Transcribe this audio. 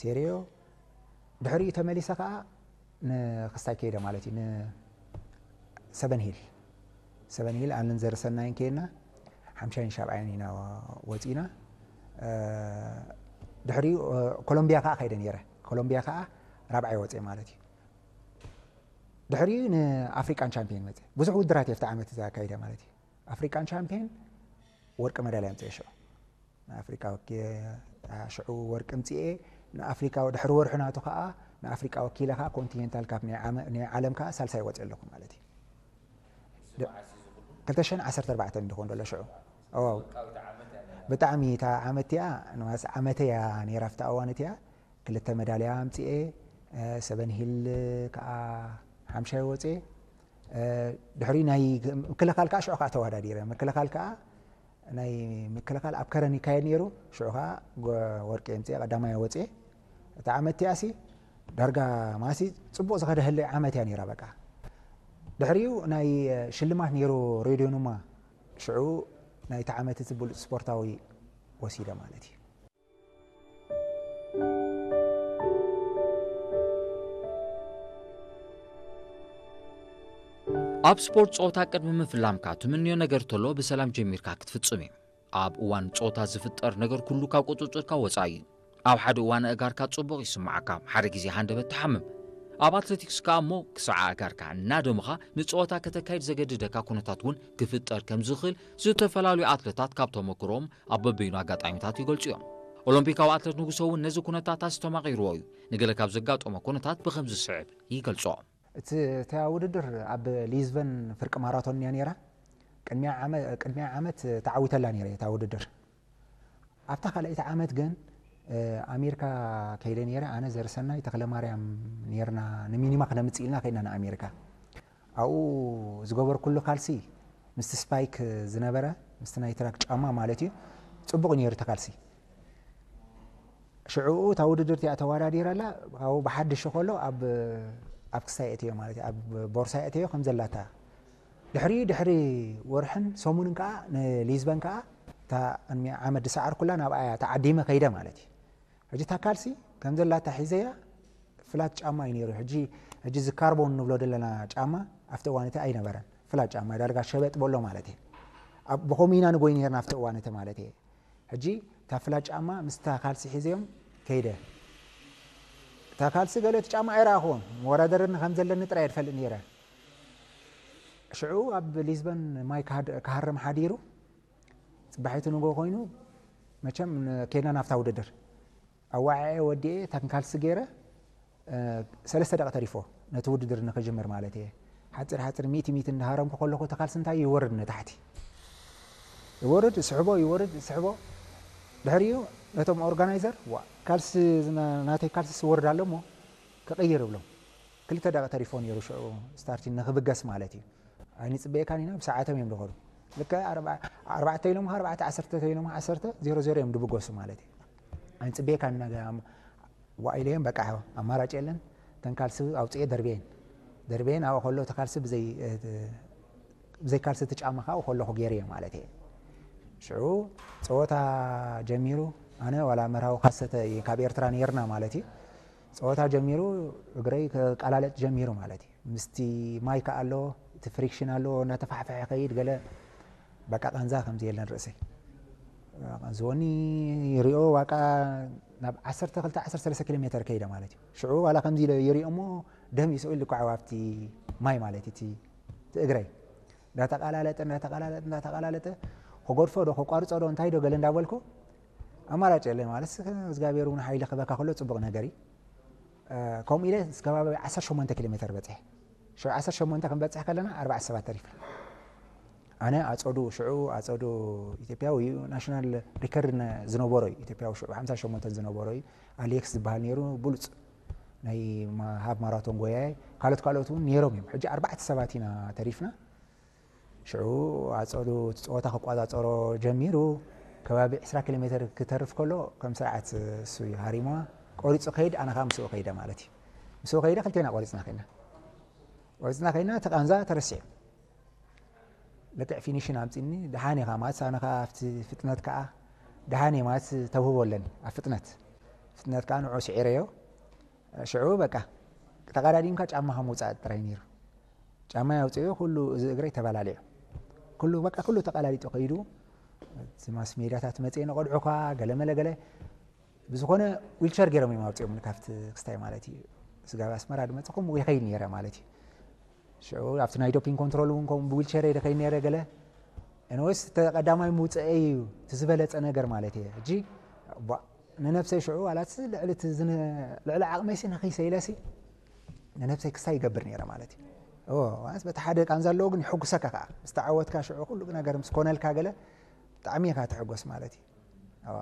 ሴርዮ። ድሕሪኡ ተመሊሰ ከዓ ንክስታይ ከይደ ማለት እዩ። ንሰበን ሂል፣ ሰበን ሂል ኣንን ዘርሰናይን ከይድና ሓምሻይን ሻብዓይን ኢና ወፂና። ድሕሪኡ ኮሎምቢያ ከዓ ከይደ ነይረ። ኮሎምቢያ ከዓ ራብዓይ ወፅየ ማለት እዩ። ድሕሪኡ ንኣፍሪቃን ቻምፒዮን መፅእ። ብዙሕ ውድራት እየ ኣብቲ ዓመት እዛ ኣካይደ ማለት እዩ። ኣፍሪቃን ቻምፒዮን ወርቂ መዳልያ ኣምፅኤ ሽዑ። ንኣፍሪቃ ወኪ ሽዑ ወርቂ ምፅኤ። ንኣፍሪቃ ድሕሪ ወርሒ ናቱ ከዓ ንኣፍሪቃ ወኪለ ከዓ ኮንቲኔንታል ካፕ ናይ ዓለም ከዓ ሳልሳይ ወፅእ ኣለኹ ማለት እዩ። ክልተ ሽሕን ዓሰርተ ኣርባዕተን እንድኾን ዘሎ ሽዑ። ብጣዕሚ እታ ዓመት እቲኣ ንማስ ዓመተ እያ ነይራ ኣብቲ ኣዋን እቲኣ። ክልተ መዳልያ ኣምፅኤ። ሰበን ሂል ከዓ ሓምሻይ ወፅኤ። ድሕሪ ናይ ምክልኻል ከዓ ሽዑ ከዓ ተወዳዲረ። ምክልኻል ከዓ ናይ ምክልኻል ኣብ ከረን ይካየድ ነይሩ። ሽዑ ከዓ ወርቂ የምፅኤ ቀዳማይ ወፅኤ። እታ ዓመት እቲኣሲ ዳርጋ ማሲ ፅቡቕ ዝኸደህለይ ዓመት እያ ነይራ። በቃ ድሕሪኡ ናይ ሽልማት ነይሩ ሬድዮ ኑማ። ሽዑ ናይቲ ዓመት እቲ ብሉፅ ስፖርታዊ ወሲደ ማለት እዩ። ኣብ ስፖርት ጸወታ ቅድሚ ምፍላምካ ትምንዮ ነገር ተሎ ብሰላም ጀሚርካ ክትፍጽም እዩ። ኣብ እዋን ጸወታ ዝፍጠር ነገር ኩሉ ካብ ቁጽጽርካ ወጻኢ እዩ። ኣብ ሓደ እዋን ኣእጋርካ ጽቡቕ ይስምዓካ፣ ሓደ ግዜ ሃንደበት ትሓምም። ኣብ ኣትሌቲክስ ከኣ እሞ ክሳዕ ኣእጋርካ እናደመኻ ንጸወታ ከተካይድ ዘገድደካ ኩነታት እውን ክፍጠር ከም ዝኽእል ዝተፈላለዩ ኣትለታት ካብ ተመክሮኦም ኣብ በበይኑ ኣጋጣሚታት ይገልጹ እዮም። ኦሎምፒካዊ ኣትለት ንጉሶ እውን ነዚ ኩነታት ኣስተማቒርዎ እዩ። ንገለ ካብ ዘጋጠሞ ኩነታት ብኸምዚ ዝስዕብ ይገልጾ። እቲ እታ ውድድር ኣብ ሊዝበን ፍርቂ ማራቶን እያ ነይራ። ቅድሚያ ዓመ- ቅድሚያ ዓመት ተዓዊተላ ነይረ እታ ውድድር። ኣብታ ካልኣይቲ ዓመት ግን ኣሜሪካ ከይደ ነይረ። ኣነ ዘርሰናይ ተክለ ማርያም ነርና ንሚኒማ ክነምፅእ ኢልና ከይድና ንኣሜሪካ። ኣብኡ ዝገበርኩሉ ካልሲ ምስቲ ስፓይክ ዝነበረ ምስቲ ናይ ትራክ ጫማ ማለት እዩ። ፅቡቕ ነይሩ እቲ ካልሲ። ሽዕኡ እታ ውድድር እቲኣ ተወዳዲረላ ካብኡ ብሓድሽ ከሎ ኣብ ኣብ ክሳይ እትዮ ማለት እዩ፣ ኣብ ቦርሳይ እትዮ ከም ዘላታ። ድሕሪ ድሕሪ ወርሕን ሰሙንን ከዓ ንሊዝበን ከዓ እታ ቅድሚ ዓመት ዝሰዓርኩላ ናብኣ እያ ተዓዲመ ከይደ ማለት እዩ። ሕጂ እታ ካልሲ ከም ዘላታ ሒዘያ። ፍላት ጫማ እዩ ነይሩ። ሕጂ ሕጂ እዚ ካርቦን ንብሎ ዘለና ጫማ ኣብቲ እዋን እቲ ኣይነበረን። ፍላት ጫማ ዳርጋ ሸበጥ በሎ ማለት እዩ። ኣብ ብኸምኡ ኢና ንጎይ ነርና ኣብቲ እዋን እቲ ማለት እየ። ሕጂ እታ ፍላት ጫማ ምስታ ካልሲ ሒዘዮም ከይደ። እታ ካልሲ ገለ እቲ ጫማ ኣይረኣኹዎን። መወዳደርኒ ከም ዘለኒ ጥራይ እየ ዝፈልጥ ነይረ። ሽዑ ኣብ ሊዝበን ማይ ክሃድ- ክሃርም ሓዲሩ። ፅባሒቱ ንጎ ኮይኑ መቸም ን- ከይድና ናብታ ውድድር ኣዋዕዐ ወዲኤ እታ ካልሲ ገይረ። ሰለስተ ደቂ ተሪፎ ነቲ ውድድር ንክጅምር ማለት እየ። ሓፂር ሓፂር ሚእቲ ሚእቲ እንዳሃረምኩ ከለኩ እቲ ካልሲ እንታይ ይወርድ ንታሕቲ። ይወርድ ስሕቦ ይወርድ ስሕቦ። ድሕሪኡ ነቶም ኦርጋናይዘር ዋ ካልሲ ናተይ ካልሲ ስወርድ ኣሎ እሞ ክቕይር እብሎም። ክልተ ደቂ ተሪፎ ነይሩ ሽዑ ስታርቲን ንክብገስ ማለት እዩ። ኣይንፅበየካን ኢና ብሰዓቶም እዮም ዝኸዱ። ልክዕ ኣርባዕተ ኢሎም ኣርባዕተ ዓሰርተ ኢሎም ዓሰርተ ዜሮ ዜሮ እዮም ዝብገሱ ማለት እዩ። ኣይንፅበየካን ኢና ዋኢለዮም በቃ ኣማራጭ የለን። ተን ካልሲ ኣውፅኤ ደርቤን ደርቤን ኣብኡ ከሎ እቲ ካልሲ ብዘይ ብዘይ ካልሲ እቲ ጫማ ካብኡ ከለኹ ገይረዮ ማለት እየ። ሽዑ ፀወታ ጀሚሩ። ኣነ ዋላ መርሃዊ ካሰተ እየ ካብ ኤርትራ ነይርና ማለት እዩ። ፀወታ ጀሚሩ እግረይ ከቃላለጥ ጀሚሩ ማለት እዩ። ምስቲ ማይ ከኣ ኣሎ እቲ ፍሪክሽን ኣሎ እናተፋሕፈሐ ከይድ ገለ በቃ ቃንዛ ከምዚ የለን ርእሰይ ዝወኒ ይሪኦ ዋቃ ናብ ዓሰርተ ክልተ ዓሰርተ ሰለስተ ኪሎ ሜተር ከይደ ማለት እዩ። ሽዑ ዋላ ከምዚ ኢለ ይሪኦ እሞ ደም ይስኡ ኢሉ ኳዕ ኣብቲ ማይ ማለት እዩ እቲ እግረይ እንዳተቃላለጠ እንዳተቃላለጠ እንዳተቃላለጠ ከጎድፎ ዶ ከቋርፆ ዶ እንታይ ዶ ገለ እንዳበልኩ ኣማራጭ የለ ማለት እግዚኣብሔር እውን ሓይሊ ክበካ ከሎ ፅቡቅ ነገር እዩ። ከምኡ ኢለ ከባቢ ዓሰርተ ሸሞንተ ኪሎ ሜተር በፅሐ። ሽዑ ዓሰርተ ሸሞንተ ክንበፅሕ ከለና ኣርባዕተ ሰባት ተሪፍና። ኣነ ኣፀዱ ሽዑ ኣፀዱ ኢትዮጵያዊ እዩ ናሽናል ሪከርድ ዝነበሮ እዩ ኢትዮጵያዊ ሽዑ ሓምሳ ሸሞንተ ዝነበሮ እዩ። ኣሌክስ ዝበሃል ነይሩ ብሉፅ ናይ ሃብ ማራቶን ጎያየ ካልኦት ካልኦት እውን ነይሮም እዮም። ሕጂ ኣርባዕተ ሰባት ኢና ተሪፍና። ሽዑ ኣፀዱ እቲ ፀወታ ክቋፃፀሮ ጀሚሩ ከባቢ ዕስራ ኪሎ ሜትር ክተርፍ ከሎ ከም ስርዓት እሱ እዩ ሃሪምዋ። ቆሪፁ ከይድ ኣነ ከዓ ምስኡ ከይደ ማለት እዩ። ምስኡ ከይደ ክልቴና ቆሪፅና ከይድና ቆሪፅና ከይድና እቲ ቃንዛ ተረሲዑ። ልክዕ ፊኒሽን ኣምፂኒ ደሓን ኢኻ ማለት ኣነ ከዓ ኣብቲ ፍጥነት ከዓ ደሓን እየ ማለት ተውህቦ ኣለኒ ኣብ ፍጥነት ነትካ ንዑ ስዒረዮ። ሽዑ በቃ ተቐዳዲምካ ጫማኻ ምውፃእ ጥራይ ነይሩ። ጫማ ያውፅኡ፣ ኩሉ እዚ እግረይ ተበላሊዑ። ኩሉ በቃ ኩሉ ተቐላሊጡ ከይዱ። እቲ ማስ ሜዳታት መፅኤ ንቐድዑኳ ገለመለ ገለ ብዝኾነ ዊልቸር ገይሮም እዮም ኣውፅኦም ካብቲ ክስታይ ማለት እዩ። ስጋብ ኣስመራ ድመፅኹም ይኸይድ ነይረ ማለት እዩ። ሽዑ ኣብቲ ናይ ዶፒንግ ኮንትሮል እውን ከምኡ ብዊልቸር እየ ደኸይድ ነይረ ገለ። ኤንወይስ ተቐዳማይ ምውፅአ እዩ እቲ ዝበለፀ ነገር ማለት እየ። ሕጂ ቧ- ንነብሰይ ሽዑ ዋላ እቲ ልዕሊ እቲ ዝነ- ልዕሊ ዓቕመይሲ ንኽይሰ ኢለሲ ንነብሰይ ክስታይ ይገብር ነይረ ማለት እዩ። እዎ፣ ማለት በቲ ሓደ ቃንዛ ኣለዎ ግን ይሕጉሰካ ከዓ ምስ ተዓወትካ ሽዑ ኩሉ ነገር ምስ ኮነልካ ገለ ብጣዕሚ እካ ትሕጎስ ማለት እዩ። እዋ።